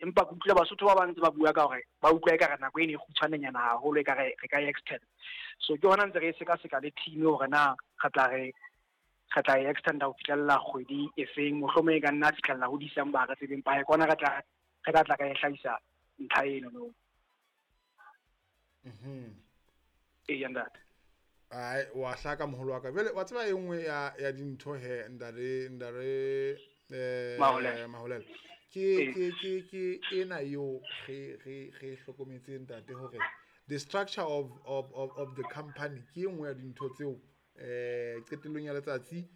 Empa ke utlwile Basotho ba bang ntse ba bua ka hore ba utlwa ekare nako eno e kgutshwanenyana haholo, ekare re ka e extend. So ke hona ntse re e sekaseka le team hore na re tla re re tla e extenda ho fihlella kgwedi e feng, mohlomong e ka nna fihlella ho December, ha re tsebe, empa ke hona re tla re tla tla ka e hlahisa ntlha eno no. Ee, ntate. Ai, wa hlaka moholo wa ka. Jwale wa tseba e nngwe ya ya dintho he ndare ndare Maholela. Maholela. Ke ke ke ke ena eo re re re hlokometse ntate hore the structure of the company ke e nngwe ya dintho tseo qetellong ya letsatsi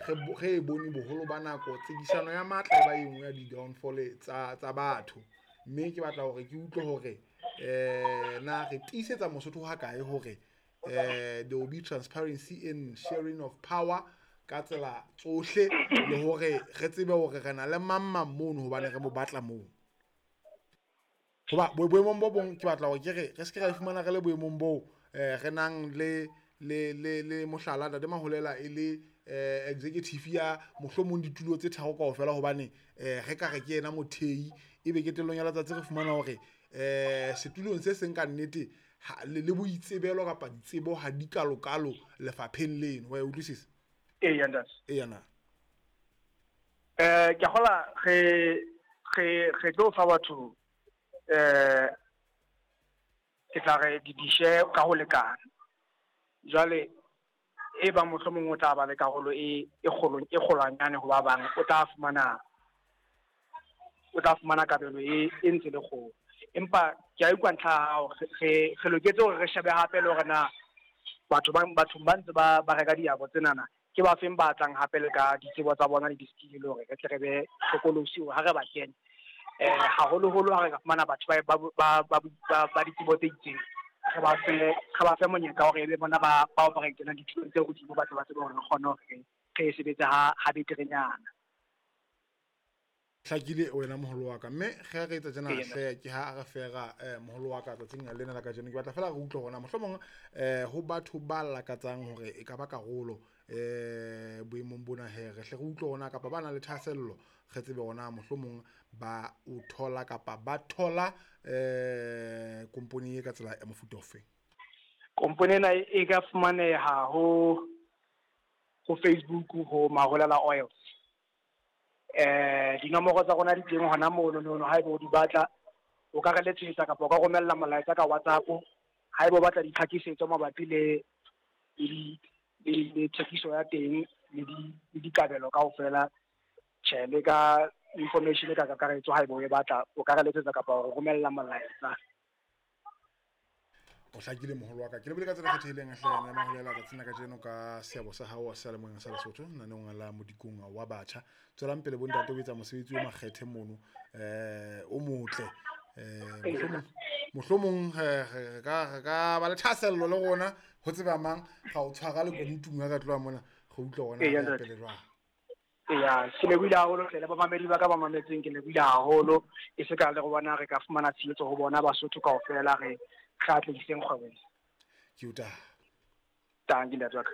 re e bone boholo ba nako tsekisano ya matla e ba e nngwe ya di-downfall tsa tsa batho. Mme ke batla hore ke utlwe hore na re tiisetsa Mosotho ha kae hore there will be transparency in sharing of power ka tsela tsohle, le hore re tsebe hore re na le mang mang mono hobane re mo batla moo. Hoba boemong bo bong ke batla hore ke re re se ke ra fumana re le boemong boo re nang le le le le mohlala ntate Maholela e le executive ya mohlomong ditulo tse tharo kaofela, hobane re ka re ke yena mothehi, ebe qetellong ya letsatsi re fumana hore setulong se seng ka nnete le boitsebelo kapa ditsebo ha di kalokalo lefapheng leno. Wa e utlwisisa? Ee, ntate. Ee, na. Ke a kgolwa re re re tlo fa batho ke tla re di-share ka ho lekana. Jwale e bang mohlomong o tla ba le karolo e e kgolo e kgolwanyane ho ba bang, o tla fumana o tla fumana kabelo e e ntse le kgolo. Empa ke a utlwa ntlha ya hao, re re loketse hore re shebe hape le hore na batho ba bathong ba ntse ba ba reka diabo tsenana ke ba feng ba tlang hape le ka ditsebo tsa bona le di-skill, le hore re tle re be hlokolosi hore ha re ba kena haholoholo ha re ka fumana batho ba ba ba ba ba ditsebo tse itseng, re ba fe monyetla hore e be bona ba ba operate tsona ditulong tse hodimo, ba tle ba tsebe hore re kgone hore re sebetse ha ha beterenyana. Hlakile wena moholo wa ka, mme ge re etsa tjena hle ke ha re fera moholo wa ka tsatsing lena la kajeno. Ke batla fela re utlwe hore na mohlomong ho batho ba lakatsang hore e ka ba karolo boemong bona he, re hle re utlwe hore na kapa ba nang le thahasello, re tsebe hore na mohlomong ba o thola kapa ba thola kompone e ka tsela ya mofuta ofeng. Kompone ena e ka fumaneha ho ho Facebook ho Maholela Oils. Dinomoro tsa rona di teng hona mono nono, haeba o di batla o ka re letsetsa kapa o ka romella molaetsa ka WhatsApp haeba o batla ditlhakisetso mabapi le le le thekiso ya teng le di le dikabelo kaofela. Tjhe, le ka information ka kakaretso haeba o e batla o ka re letsetsa kapa o romella molaetsa. O hlakile moholo wa ka. Ke lebile ka tsela e kgethehileng hle ena Maholela tsatsing la kajeno ka seabo sa hao seyalemoyeng sa Lesotho naneong la Modikong wa Batjha. Tswelang pele bontate o etsa mosebetsi o makgethe mono, o motle. Mohlomong re ka re ka ba le thahasello le rona ho tseba mang ga o tshwara le kunutung ha ka tloha mona re utlwa hore na re ya pele jwang. Eya, ke lebohile haholo hle le bamamedi ba ka ba mametseng, ke lebohile haholo. E se ka le go bona re ka fumana tshehetso ho bona Basotho kaofela, re re atlehiseng kgwebo ena. Ke o taha. Tanki ntate wa ka.